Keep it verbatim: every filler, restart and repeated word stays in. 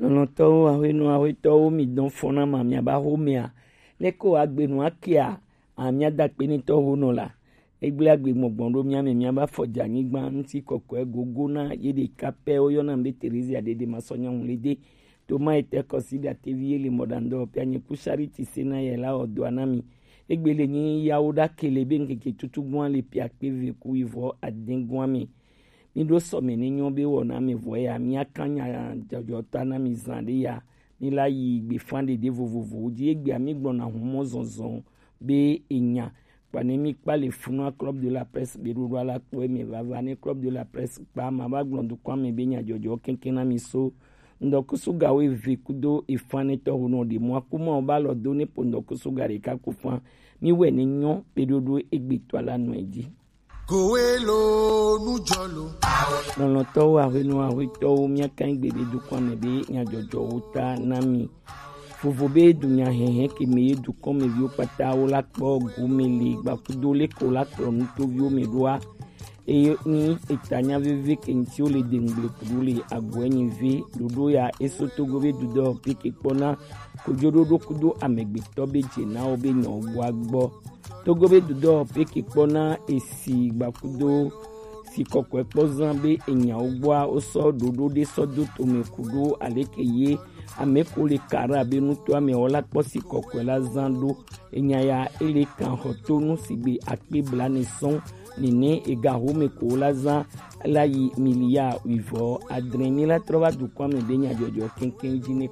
Lɔntɔwo, ahwenɔ, ahwetɔwo, mi dɔn fɔna ma, miaba xomea. Leko agbenu akia, amia dakpe ni tɔ ho nɔ la. Egble agbe gbɔgbɔn ɖo mia me, miaba fɔ dza nyigba ŋuti kɔkɔe gogo na ye ɖeka pɛ, woyɔna be Terezia ɖeɖe ma sɔ nyɔnu le de. Toma etɛ kɔsi ɖatevi ye le mɔɖaŋdɔ pia nye ku Charity se na ye la ɔdɔa na mi. Egbe le nyi yawo ɖa kele be ŋkeke tutu gua le pia kpe ve ku ivɔ adin gua mi. Mi ɖo sɔme ne nyɔ be wɔna me vɔ ya, mia kan nya jɔjɔ ta na mi zan ɖe ya. Mi la yi gbe fan ɖeɖe vovovowo dzi. Egbea mi gblɔna humɔ zɔzɔ be enya. Kpa ne mi kpa le funua Club de la Presse be ɖoɖo ala kpɔ eme vava ne Club de la Presse kpa ma va gblɔ dukɔa me be nya jɔjɔ keŋkeŋ na mi so. Ŋdɔkusu gawo eve kudo efan ne tɔho nɔ ɖe mɔ akuma o ba lɔ do ne po ŋdɔkusu ga ɖeka ku fan. Mi wɛ ne nyɔ be ɖoɖo egbe to ala nɔ edzi. Kowelo nujɔlo. Lɔlɔtɔwo, ahwenɔ, ahwetɔwo, mia kan gbe be dukɔa me be nya jɔjɔwo ta na mi. Vovo be dunya hɛhɛ ke me ye dukɔ me viwo kpata wo la kpɔ gu me le gbakudo le ko la kplɔ nutoviwo me ɖoa. Eye ni eta nya veve ke ŋti wo le de ŋgble kudo le agbɔɛ nyi ve ɖoɖo ya eso Togo be dudɔ pe ke kpɔna kojoɖoɖo kudo amegbetɔ be dze na wo be nyɔ gbɔ agbɔ. Togo be dudɔ pe ke kpɔna esi gbakudo si kɔkɔe kpɔ zan be enyawo gbɔa wosɔ ɖoɖo ɖe sɔ do tome kudo aleke ye ame ko le kara be nutoa me wɔla kpɔ si kɔkɔe la zan ɖo. Enya ya ele kan xɔ to nu sigbe akpe bla ne sɔn nene ega home ko la zan la yi miliya wivɔ adre mi la trɔ va dukɔa me be nya jɔjɔ keŋkeŋ dzi ne